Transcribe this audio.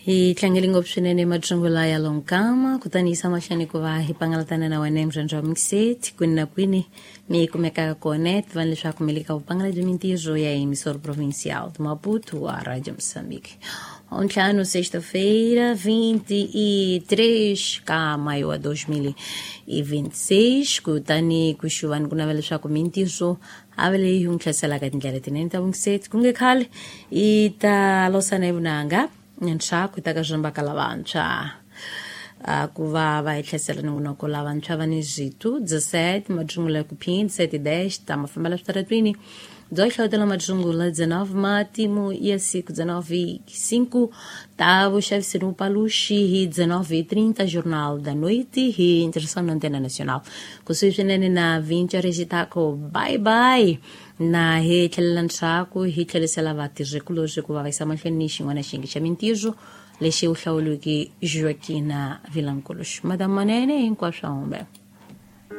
Hi tlangele ngopfu swinene matsungula ya lonkama, kutani yisa mahlweni ku va hi pangalatana na wena emurhandzi wa mixet kwini na kwini mi kumekaka kona. Tivani leswaku mi le ka vupangala bya mintirho ya emissora provincial de Maputo, a Rádio Moçambique. Ntlhanu, sexta-feira, 23 ka maio wa 2026. Kutani ku xuvani ku navela leswaku mintirho a va leyi yi n'wi hlaselaka tindlela tinene ta vungiseti ku nge khale i ta losana hi vunanga ntshaku ta ka swimbaka lavantshwa ku va va hi hlasela nongonoko. Lavantshwa va ni zwitu 17 matsungula ku phin 7:10 ta mafambela switaratwini byo hlawutela matsungula 19 matimu ya siku 19:05 ta vuxavisi ni vupaluxi hi 19:30 Jornal da Noite hi ntirhisano na Antena Nacional kusuhi swinene na 20 rexitako. Bye bye, na hi tlhelela ndzhaku hi tlherisela vatirhikulorhi ku va va yisa mahlweni ni xin'wana xiyenge xa mintirho lexi u hlawuliweke Joaquina Vilankuluxi. Madam Manene, hinkwaswo humbe.